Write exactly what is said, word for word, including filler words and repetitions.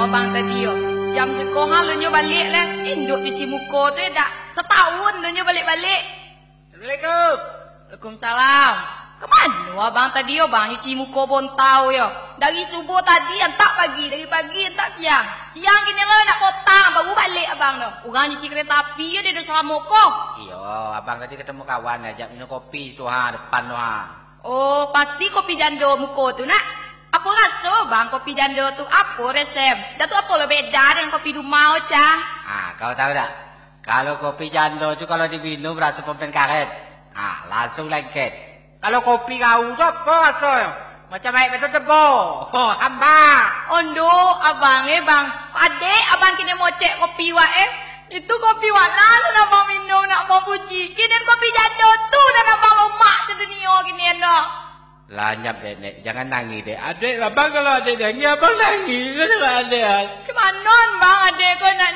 Abang tadi yo. Jam sikohan lo nyo baliak leh. Induak cuci muko tu yo dak. Satahun lo nyo baliak-baliak. Assalamualaikum. Waalaikumsalam. Ka mano abang tadi yo, bang? Nyuci muko bontau yo. Dari subuah tadi antak pagi, dari pagi antak siang. Siang kini lo nak potang, baru baliak abang tu. Urang nyuci kereta api yo, dia dah salamo ko. Iyo, abang tadi ketemu kawan, ajak minum kopi tu ha, depan tu ha. Oh, pasti kopi jando muko tu nak. Apo raso bang kopi jando tu? Apo resep? Dah tu apo lo beda dengan kopi di rumah, Cang? Ah, kau tahu tak? Kalau kopi jando tu kalau diminum raso pulpen karet. Ah, langsung lengket. Kalau kopi kau tu apo rasonyo? Macam aek betul tebo. Hamba. Ondo, abang eh bang. Adek abang kini mocek kopi wak eh. Itu kopi wak lah nan abang minum nak abang puji. Kini kopi jando tu nan abang lomak sedunia kini endo. Lanyap dek, Nek. Jangan nangih, Dek. Adek, abang kalau adek nangih, abang nangih. Kenapa adek, ah? Cuman non, bang, adek ko nak